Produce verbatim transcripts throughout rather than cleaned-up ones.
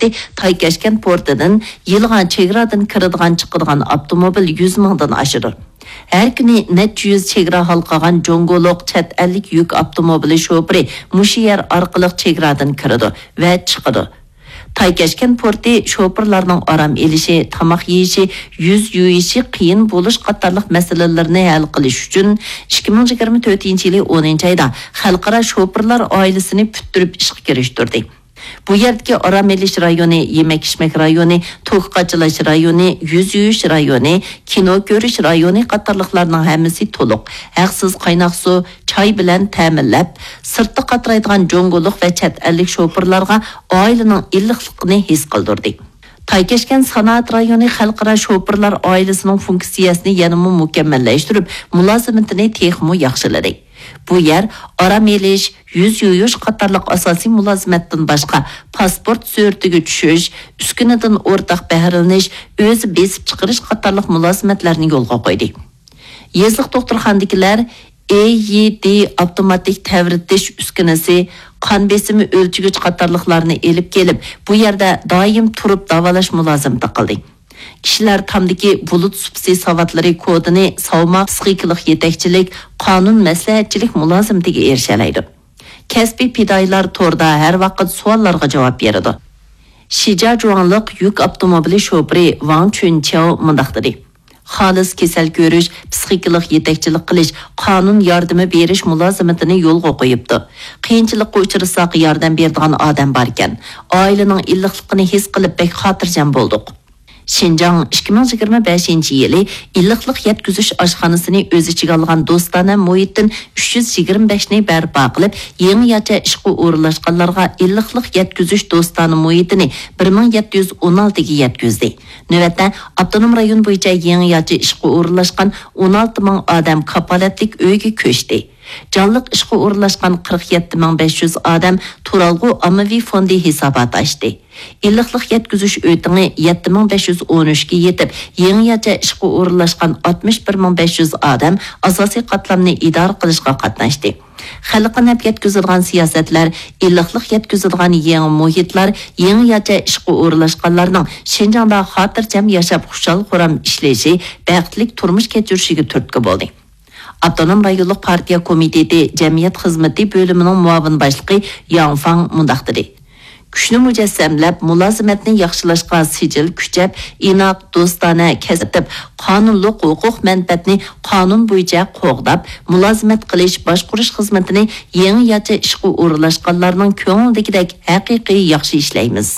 سۈپىتى تايكەشكەن پورتىدىن يىلغا چېگرادىن كىرىدىغان چىقىدىغان ئاپتوموبىل يۈز مىڭدىن ئاشىدۇ. ھەر كۈنى نەچچە يۈز چېگرا ھالقىغان جۇڭگولۇق چەت ئەللىك يۈك ئاپتوموبىلى شوپۇرى مۇشۇ يەر ئارقىلىق چېگرادىن كىرىدۇ ۋە چىقىدۇ. تايكەشكەن پورتى شوپۇرلارنىڭ ئارام ئېلىشى، تاماق يېيىشى، يۈز يۇيۇشى قىيىن بولۇش قاتارلىق مەسىلىلىرىنى ھەل قىلىش ئۈچۈن، ئىككى مىڭ يىگىرمە تۆتىنچى يىلى ئونىنچى ئايدا خەلقئارا شوپۇرلار ئائىلىسىنى پۈتتۈرۈپ ئىشقا كىرىشتۈردى. بۇ يەردىكى ئارام ئېلىش رايونى، يېمەك-ئىچمەك رايونى، توك قاچىلاش رايونى، يۈز يۇيۇش رايونى، كىنو كۆرۈش رايونى قاتارلىقلارنىڭ ھەممىسى تولۇق، ھەقسىز قايناق سۇ، چاي بىلەن تەمىنلەپ، سىرتتا قاترايدىغان جۇڭگولۇق ۋە چەت ئەللىك شوپۇرلارغا ئائىلىنىڭ ئىللىقلىقىنى ھېس قىلدۇردى. تايكەشكەن سانائەت رايونى خەلقئارا شوپۇرلار ئائىلىسىنىڭ فۇنكسىيەسىنى يەنىمۇ مۇكەممەللەشتۈرۈپ، مۇلازىمىتىنى تېخىمۇ ياخشىلىدى. بۇ يەر ئارام ئېلىش، يۈز يۇيۇش قاتارلىق ئاساسىي مۇلازىمەتتىن باشقا، پاسپورت سۈرىتىگە چۈشۈش، ئۈسكۈنىدىن ئورتاق بەھرىلىنىش، ئۆزى بېسىپ چىقىرىش قاتارلىق مۇلازىمەتلەرنى يولغا قويدى. يېزىلىق دوختۇرخانىدىكىلەر ئېيدى ئاپتوماتىك تەۋرىتىش ئۈسكۈنىسى، قان بېسىمى ئۆلچىگۈچ قاتارلىقلارنى ئېلىپ كېلىپ، بۇ يەردە دائىم تۇرۇپ داۋالاش مۇلازىمىتى قىلدى. كىشىلەر تامدىكى بۇلۇت سۇپىسى ساۋاتلىرى كودىنى ساۋماق، پىسخىكىلىق يېتەكچىلىك، قانۇن مەسلىھەتچىلىك مۇلازىمىتىگە ئېرىشەلەيدۇ. كەسپىي پىدائىيلار توردا ھەر ۋاقىت سوئاللارغا جاۋاب بېرىدۇ. شىجياجۇاڭلىق يۈك ئاپتوموبىلى شوپۇرى ۋاڭ چۈنچياۋ مۇنداق دېدى: خالىس كېسەل كۆرۈش، پىسخىكىلىق يېتەكچىلىك قىلىش، قانۇن ياردىمى بېرىش مۇلازىمىتىنى يولغا قويۇپتۇ. قىيىنچىلىققا ئۇچرىساق، ياردەم بېرىدىغان ئادەم باركەن. ئائىلىنىڭ ئىللىقلىقىنى ھېس قىلىپ، بەك خاتىرجەم بولدۇق. شىنجاڭ ئىككى مىڭ يىگىرمە بەشىنچى يىلى ئىللىقلىق يەتكۈزۈش ئاشخانىسىنى ئۆز ئىچىگە ئالغان دوستانە مۇھىتتىن ئۈچ يۈز يىگىرمە بەشنى بەرپا قىلىپ، يېڭىچە ئىشقا ئورۇنلاشقانلارغا ئىللىقلىق يەتكۈزۈش دوستانە مۇھىتىنى بىر مىڭ يەتتە يۈز ئون ئالتىگە يەتكۈزدى. نۆۋەتتە، ئاپتونوم رايون بويىچە يېڭىچە ئىشقا ئورۇنلاشقان ئون ئالتە مىڭ ئادەم كاپالەتلىك ئۆيگە كۆچتى. جانلىق ئىشقا ئورۇنلاشقان قىرىق يەتتە مىڭ بەش يۈز ئادەم تۇرالغۇ ئاممىۋى فوندى ھېساباتى ئاچتى. ئىللىقلىق يەتكۈزۈش ئۆتىڭى يەتتە مىڭ بەش يۈز ئون ئۈچكە يېتىپ، يېڭىچە ئىشقا ئورۇنلاشقان ئاتمىش بىر مىڭ بەش يۈز ئادەم ئاساسىي قاتلامنى ئىدارە قىلىشقا قاتناشتى. خەلققە نەپ يەتكۈزىدىغان سىياسەتلەر، ئىللىقلىق يەتكۈزىدىغان يېڭى مۇھىتلار، يېڭىچە ئىشقا ئورۇنلاشقانلارنىڭ شىنجاڭدا خاتىرجەم ياشاپ، خۇشال-خۇرام ئىشلىشى، بەختلىك تۇرمۇش كەچۈرۈشىگە تۈرتكە بولدى. ئاپتونوم رايونلۇق پارتىيە كومىتېتى جەمئىيەت خىزمىتى بۆلۈمىنىڭ مۇئاۋىن باشلىقى ياڭ فاڭ مۇنداق دېدى: كۈچنى مۇجەسسەملەپ، مۇلازىمەتنى ياخشىلاشقا سىجىل كۈچەپ، ئىناق، دوستانە كەسىپ، قانۇنلۇق ھوقۇق مەنپەئەتنى قانۇن بويىچە قوغداپ، مۇلازىمەت قىلىش، باشقۇرۇش خىزمىتىنى يېڭىچە ئىشقا ئورۇنلاشقانلارنىڭ كۆڭلىدىكىدەك ھەقىقىي ياخشى ئىشلەيمىز.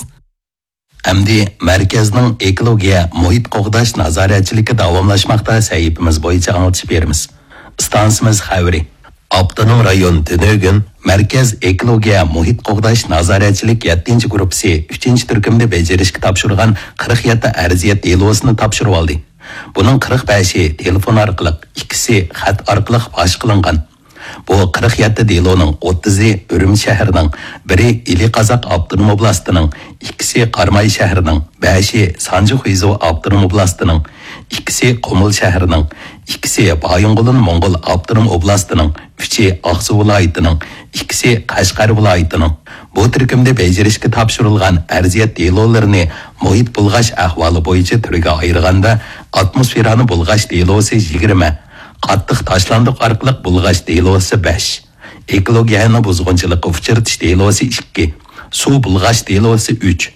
ئەمدى مەركەزنىڭ ئېكولوگىيە مۇھىت قوغداش نازارەتچىلىكى داۋاملاشماقتا سەھىپىمىز بويىچە ئاڭلىتىش بېرىمىز. ئىستانسىمىز خەۋىرى. ئاپتونوم رايون تۈنۈگۈن مەركەز ئېكولوگىيە مۇھىت قوغداش نازارەتچىلىك يەتتىنچى گۇرۇپپىسى ئۈچىنچى تۈركۈمدە بېجىرىشكە تاپشۇرغان قىرىق يەتتە ئەرزىيەت دېلوسىنى تاپشۇرۇۋالدى. بۇنىڭ قىرىق بەشى تېلېفون ئارقىلىق، ئىككىسى خەت ئارقىلىق پاش قىلىنغان. بۇ قىرىق يەتتە دېلونىڭ ئوتتۇزى ئۈرۈمچى شەھىرىنىڭ، بىرى ئىلى قازاق ئاپتونوم ئوبلاستىنىڭ، ئىككىسى قاراماي شەھىرىنىڭ، بەشى سانجى خۇيزۇ ئاپتونوم ئوبلاستىنىڭ، ئىككىسى قۇمۇل شەھىرىنىڭ، ئىككىسى بايىنغولىن موڭغۇل ئاپتونوم ئوبلاستىنىڭ، ئۈچى ئاقسۇ ۋىلايىتىنىڭ، ئىككىسى قەشقەر ۋىلايىتىنىڭ. بۇ تۈركۈمدە بېجىرىشكە تاپشۇرۇلغان ئەرزىيەت دېلولىرىنى مۇھىت بۇلغاش ئەھۋالى بويىچە تۈرگە ئايرىغاندا، ئاتموسفېرانى بۇلغاش دېلوسى يىگىرمە، قاتتىق تاشلاندۇق ئارقىلىق بۇلغاش دېلوسى بەش، ئېكولوگىيەنى بۇزغۇنچىلىققا ئۇچرىتىش دېلوسى ئىككى، سۇ بۇلغاش دېلوسى ئۈچ،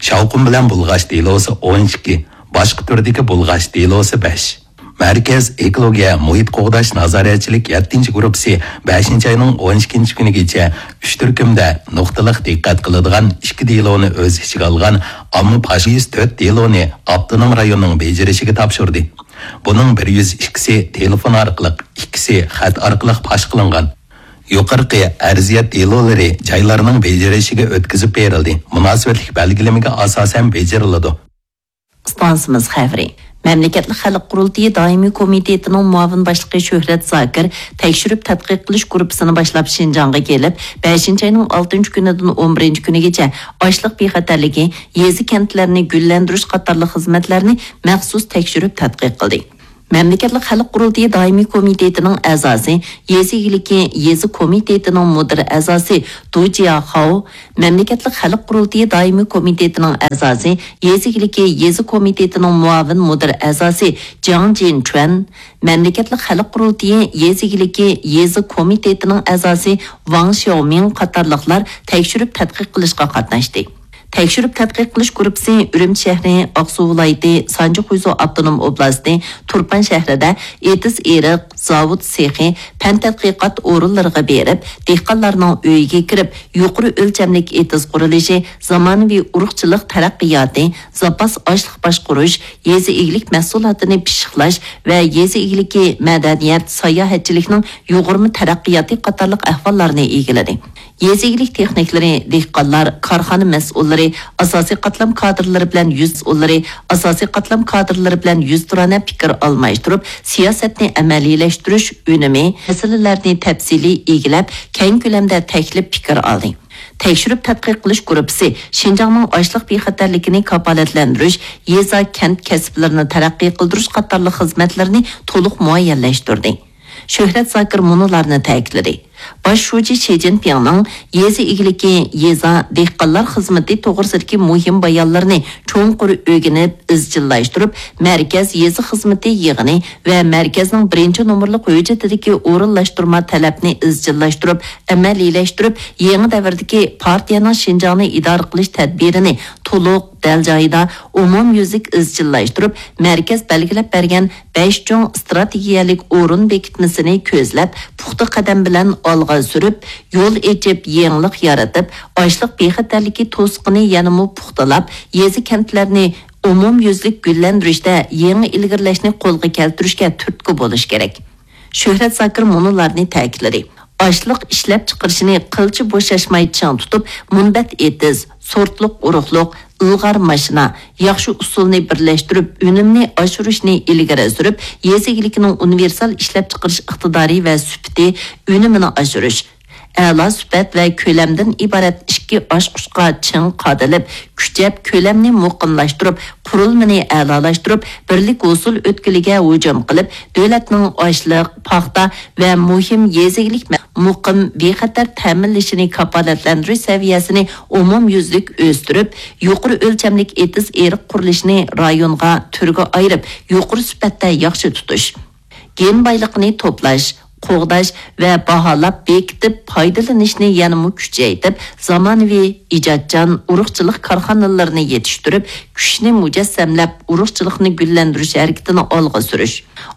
شاۋقۇن بىلەن بۇلغاش دېلوسى ئون ئىككى، باشقا تۈردىكى بۇلغاش دېلوسى بەش. مەركەز ئېكولوگىيە مۇھىت قوغداش نازارەتچىلىك يەتتىنچى گۇرۇپپىسى بەشىنچى ئاينىڭ ئون ئىككىنچى كۈنىگىچە ئۈچ تۈركۈمدە نۇقتىلىق دىققەت قىلىدىغان ئىككى دېلونى ئۆز ئىچىگە ئالغان ئامما پاش يۈز تۆت دېلونى ئاپتونوم رايوننىڭ بېجىرىشىگە تاپشۇردى. بۇنىڭ بىر يۈز ئىككىسى تېلېفون ئارقىلىق، ئىككىسى خەت ئارقىلىق پاش قىلىنغان. يۇقىرىقى ئەرزىيەت دېلولىرى جايلارنىڭ بېجىرىشىگە ئۆتكۈزۈپ بېرىلدى، مۇناسىۋەتلىك بەلگىلىمىگە ئاساسەن بېجىرىلىدۇ. ئىستانسىمىز خەۋىرى. مەملىكەتلىك خەلق قۇرۇلتىيى دائىمىي كومىتېتىنىڭ مۇئاۋىن باشلىقى شۆھرەت زاكىر تەكشۈرۈپ تەتقىق قىلىش گۇرۇپپىسىنى باشلاپ شىنجاڭغا كېلىپ، بەشىنچى ئاينىڭ ئالتىنچى كۈنىدىن ئون بىرىنچى كۈنىگىچە ئاشلىق بىخەتەرلىكى، يېزا-كەنتلەرنى گۈللەندۈرۈش قاتارلىق خىزمەتلەرنى مەخسۇس تەكشۈرۈپ تەتقىق قىلدى. مەملىكەتلىك خەلق قۇرۇلتىيى دائىمىي كومىتېتىنىڭ ئەزاسى، يېزا ئىگىلىكى يېزا كومىتېتىنىڭ مۇدىر ئەزاسى دۇ جياخاۋ، مەملىكەتلىك خەلق قۇرۇلتىيى دائىمىي كومىتېتىنىڭ ئەزاسى، يېزا ئىگىلىكى يېزا كومىتېتىنىڭ مۇئاۋىن مۇدىر ئەزاسى جياڭ جىنچۈەن، مەملىكەتلىك خەلق قۇرۇلتىيى يېزا ئىگىلىكى يېزا كومىتېتىنىڭ ئەزاسى ۋاڭ شياۋمىڭ قاتارلىقلار تەكشۈرۈپ تەتقىق قىلىشقا قاتناشتى. تەكشۈرۈپ تەتقىق قىلىش گۇرۇپپىسى ئۈرۈمچى شەھىرى، ئاقسۇ ۋىلايىتى، سانجى خۇيزۇ ئاپتونوم ئوبلاستى، تۇرپان شەھىرىدە ئېتىز ئېرىق، زاۋۇت سېخى، پەن تەتقىقات ئورۇنلىرىغا بېرىپ، دېھقانلارنىڭ ئۆيىگە كىرىپ، يۇقىرى ئۆلچەملىك ئېتىز قۇرۇلۇشى، زامانىۋى ئۇرۇقچىلىق تەرەققىياتى، زاپاس ئاشلىق باشقۇرۇش، يېزا ئىگىلىك مەھسۇلاتىنى پىششىقلاش ۋە يېزا ئىگىلىكى، مەدەنىيەت، ساياھەتچىلىكنىڭ يۇغۇرما تەرەققىياتى قاتارلىق ئەھۋاللارنى ئىگىلىدى. يېزا ئىگىلىك تېخنىكلىرى، دېھقانلار، كارخانا مەسئۇللىرى، ئاساسىي قاتلام كادىرلىرى بىلەن يۈز، ئاساسىي قاتلام كادىرلىرى بىلەن يۈزتۇرانە پىكىر ئالماشتۇرۇپ، سىياسەتنى ئەمەلىيلەشتۈرۈش، ئۈنۈمى، مەسىلىلەرنى تەپسىلىي ئىگىلەپ، كەڭ كۆلەمدە تەكلىپ پىكىر ئالدى. تەكشۈرۈپ تەتقىق قىلىش گۇرۇپپىسى شىنجاڭنىڭ ئاشلىق بىخەتەرلىكىنى كاپالەتلەندۈرۈش، يېزا، كەنت كەسىپلىرىنى تەرەققىي قىلدۇرۇش قاتارلىق خىزمەتلىرىنى تولۇق مۇئەييەنلەشتۈردى. شۆھرەت زاكىر مۇنۇلارنى تەكىتلىدى. باش شۇجى شى جىنپىڭنىڭ يېزا ئىگىلىكى، يېزا، دېھقانلار خىزمىتى توغرىسىدىكى مۇھىم بايانلىرىنى چوڭقۇر ئۆگىنىپ، ئىزچىللاشتۇرۇپ، مەركەز يېزا خىزمىتى يىغىنى ۋە مەركەزنىڭ بىرىنچى نومۇرلۇق ھۆججىتىدىكى ئورۇنلاشتۇرما تەلەپنى ئىزچىللاشتۇرۇپ، ئەمەلىيلەشتۈرۈپ، يېڭى دەۋردىكى پارتىيەنىڭ شىنجاڭنى ئىدارە قىلىش تەدبىرىنى تولۇق، دەل جايىدا، ئومۇميۈزلۈك ئىزچىللاشتۇرۇپ، مەركەز بەلگىلەپ بەرگەن بەش چوڭ ئىستراتېگىيەلىك ئورۇن بېكىتمىسىنى كۆزلەپ، پۇختا قەدەم بىلەن ئالغا سۈرۈپ، يول ئېچىپ، يېڭىلىق يارىتىپ، ئاشلىق بىخەتەرلىكى توسۇقىنى يەنىمۇ پۇختىلاپ، يېزا، كەنتلەرنى ئومۇميۈزلۈك گۈللەندۈرۈشتە يېڭى ئىلگىرىلەشنى قولغا كەلتۈرۈشكە تۈرتكە بولۇش كېرەك. شۆھرەت زاكىر مۇنۇلارنى تەكىتلىدى. ئاشلىق ئىشلەپچىقىرىشنى قىلچە بوشاشماي چىڭ تۇتۇپ، مۇنبەت ئېتىز، سورتلۇق ئۇرۇقلۇق، ئىلغار ماشىنا، ياخشى ئۇسۇلنى بىرلەشتۈرۈپ، ئۈنۈمنى ئاشۇرۇشنى ئىلگىرى سۈرۈپ، يېزا ئىگىلىكىنىڭ ئۇنىۋېرسال ئىشلەپچىقىرىش ئىقتىدارى ۋە سۈپىتى، ئۈنۈمىنى ئاشۇرۇش، ئەلا سۈپەت ۋە كۆلەمدىن ئىبارەت ئىككى ئاچقۇچقا چىڭ قادىلىپ، كۈچەپ، كۆلەمنى مۇقىملاشتۇرۇپ، قۇرۇلمىنى ئەلالاشتۇرۇپ، بىرلىك ھوسۇل ئۆتكىلىگە ھۇجۇم قىلىپ، دۆلەتنىڭ ئاشلىق، پاختا ۋە مۇھىم يېزا ئىگىلىك مە-، مۇقىم، بىخەتەر تەمىنلىشىنى كاپالەتلەندۈرۈش سەۋىيەسىنى ئومۇميۈزلۈك ئۆستۈرۈپ، يۇقىرى ئۆلچەملىك ئېتىز ئېرىق قۇرۇلۇشىنى رايونغا، تۈرگە ئايرىپ، يۇقىرى سۈپەتتە ياخشى تۇتۇش. گېن بايلىقىنى توپلاش، قوغداش ۋە باھالاپ بېكىتىپ پايدىلىنىشنى يەنىمۇ كۈچەيتىپ، زامانىۋى، ئىجادچان ئۇرۇقچىلىق كارخانىلىرىنى يېتىشتۈرۈپ، كۈچنى مۇجەسسەملەپ، ئۇرۇقچىلىقنى گۈللەندۈرۈش ھەرىكىتىنى ئالغا سۈرۈش.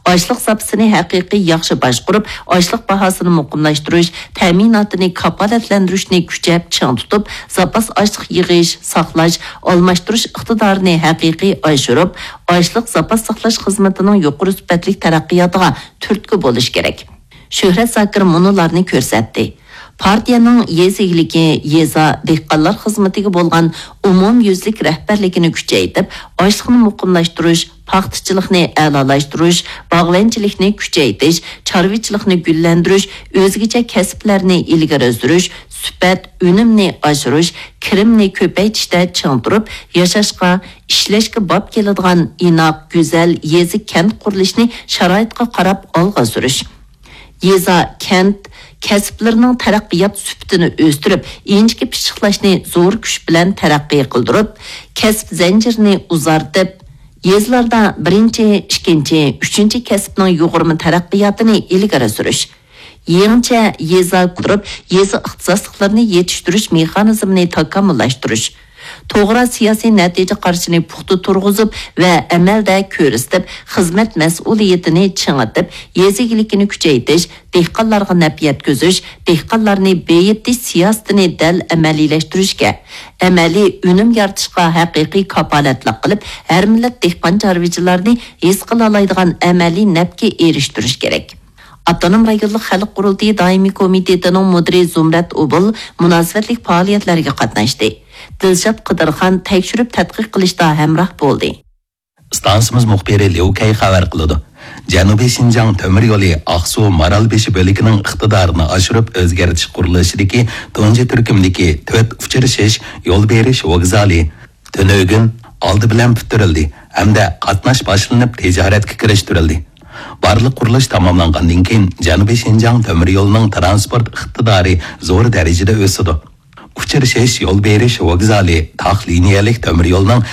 ئاشلىق زاپىسىنى ھەقىقىي ياخشى باشقۇرۇپ، ئاشلىق باھاسىنى مۇقىملاشتۇرۇش، تەمىناتىنى كاپالەتلەندۈرۈشنى كۈچەپ چىڭ تۇتۇپ، زاپاس ئاشلىق يىغىش، ساقلاش، ئالماشتۇرۇش ئىقتىدارىنى ھەقىقىي ئاشۇرۇپ، ئاشلىق زاپاس ساقلاش خىزمىتىنىڭ يۇقىرى سۈپەتلىك تەرەققىياتىغا تۈرتكە بولۇش كېرەك. شۆھرەت زاكىر مۇنۇلارنى كۆرسەتتى. پارتىيەنىڭ يېزا ئىگىلىكى، يېزا، دېھقانلار خىزمىتىگە بولغان ئومۇميۈزلۈك رەھبەرلىكىنى كۈچەيتىپ، ئاشلىقنى مۇقىملاشتۇرۇش، پاختىچىلىقنى ئەلالاشتۇرۇش، باغۋەنچىلىكنى كۈچەيتىش، چارۋىچىلىقنى گۈللەندۈرۈش، ئۆزگىچە كەسىپلەرنى ئىلگىرى سۈرۈش، سۈپەت، ئۈنۈمنى ئاشۇرۇش، كىرىمنى كۆپەيتىشتە چىڭ تۇرۇپ، ياشاشقا، ئىشلەشكە باب كېلىدىغان ئىناق، گۈزەل يېزا، كەنت قۇرۇلۇشىنى شارائىتقا قاراپ ئالغا سۈرۈش. يېزا، كەنت كەسىپلىرىنىڭ تەرەققىيات سۈپىتىنى ئۆستۈرۈپ، ئىنچىكە پىششىقلاشنى زور كۈچ بىلەن تەرەققىي قىلدۇرۇپ، كەسىپ زەنجىرىنى ئۇزارتىپ، يېزىلاردا بىرىنچى، ئىككىنچى، ئۈچىنچى كەسىپنىڭ يۇغۇرما تەرەققىياتىنى ئىلگىرى سۈرۈش. يېڭىچە يېزا قۇرۇپ، يېزا ئىختىساسلىقلىرىنى يېتىشتۈرۈش مېخانىزمىنى تاكامۇللاشتۇرۇش. توغرا سىياسىي نەتىجە قارىشىنى پۇختا تۇرغۇزۇپ ۋە ئەمەلدە كۆرسىتىپ، خىزمەت مەسئۇلىيىتىنى چىڭىتىپ، يېزا ئىگىلىكىنى كۈچەيتىش، دېھقانلارغا نەپ يەتكۈزۈش، دېھقانلارنى بېيىتىش سىياسىتىنى دەل ئەمەلىيلەشتۈرۈشكە، ئەمەلىي ئۈنۈم يارىتىشقا ھەقىقىي كاپالەتلىك قىلىپ، ھەر مىللەت دېھقان چارۋىچىلارنى ھېس قىلالايدىغان ئەمەلىي نەپكە ئېرىشتۈرۈش كېرەك. ئاپتونوم رايونلۇق خەلق قۇرۇلتىيى دائىمىي كومىتېتىنىڭ مۇدىرى زۇمرەت ئوبۇل مۇناسىۋەتلىك پائالىيەتلەرگە قاتناشتى. دىلشات قىدىرخان تەكشۈرۈپ تەتقىق قىلىشتا ھەمراھ بولدى. ئىستانسىمىز مۇخبىرى ليۇ كەي خەۋەر قىلىدۇ. جەنۇبىي شىنجاڭ تۆمۈر يولى ئاقسۇ مارالبېشى بۆلىكىنىڭ ئىقتىدارىنى ئاشۇرۇپ ئۆزگەرتىش قۇرۇلۇشىدىكى تۇنجى تۈركۈمدىكى تۆت ئۇچرىشىش يول بېرىش ۋوگزالى تۈنۈگۈن ئالدى بىلەن پۈتتۈرۈلدى ھەمدە قاتناش باشلىنىپ تىجارەتكە كىرىشتۈرۈلدى. بارلىق قۇرۇلۇش تاماملانغاندىن كېيىن، جەنۇبىي شىنجاڭ تۆمۈر يولىنىڭ تىرانسپورت ئىقتىدارى زور دەرىجىدە ئۆسىدۇ. ئۇچرىشىش، يول بېرىش ۋوگزالى، تاق لىنىيەلىك تۆمۈر يولىنىڭ